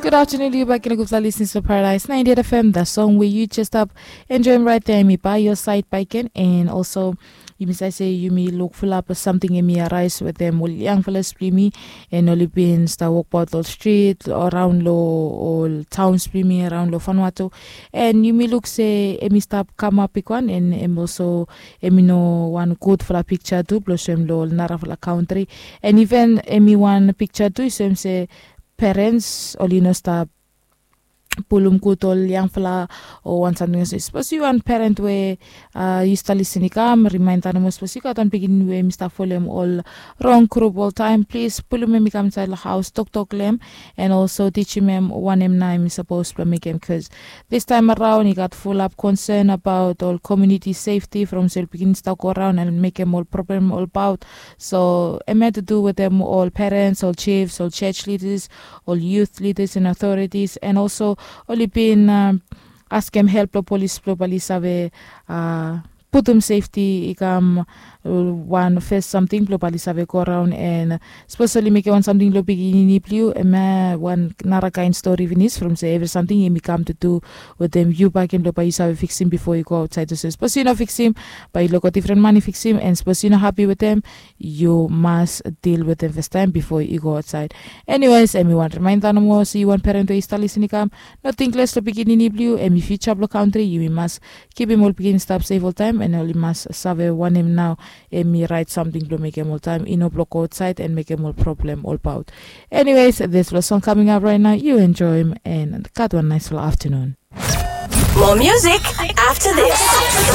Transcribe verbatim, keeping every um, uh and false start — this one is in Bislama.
Good afternoon, you back in a good listening to Paradise ninety-eight F M. The song where you just up enjoying right there, mi by your side, by Ken, and also you may say you may look full up of something in me arise with them, well, young fellas, me, and only been star walk about the street around low all towns, me around low Vanuatu, and you may look say, emi stop come up big one, and em also emi no one good for a picture too, plus em low nara for a country, and even emi one picture too, so em say parents oli no stap pulum gud ol yangfala o wan samting olsem. Sapos yu wan parent we yu stap lisin i kam, rimainda nomo sapos yu gat wan pikinini we mi stap folem ol rong grup oltaim, plis pulum em i kam insaed long haus, toktok long em, and also tijim em wanem nao em i sapos blong mekem, bikos this time around i gat fulap konsen abaot ol komuniti sefti from se ol pikinini stap go raon and mekem ol problem olbaot. So em ya tu du wetem ol parents, ol chiefs, ol church leaders, ol youth leaders and authorities, and also oli bin askem help long polis blong bali save putum sefti i kam wan fes samting blong bali save go raon. And sapos oli mekem wan samting long pikinini blong yu, em ya wan nara kain stori finis from se evri samting em i kam tu du wetem yu bakim blong bai yu save fiksim bifo yu go aotsaed olsem. Sapos yu no fiksim, bai yu loko difren man i fiksim, and sapos yu no hapi wetem, yu mas dil wetem fastaim bifo yu go aotsaed. Eniwes, em i wan rimainda nomo se yu wan parent we yu stap lisin i kam, no ting les long pikinini blong yu, em i fiuja blong kantri. Yumi mas kipim ol pikinini stap sef oltaim, and oli mas save wanem nao em i raet samting blong mekem oltaim, i no blong go aotsaed and mekem ol problem olbaot. Eniwes, dispela song kaming ap raet nao, yu enjoim and gat wan naisfala aftanun. More music after this.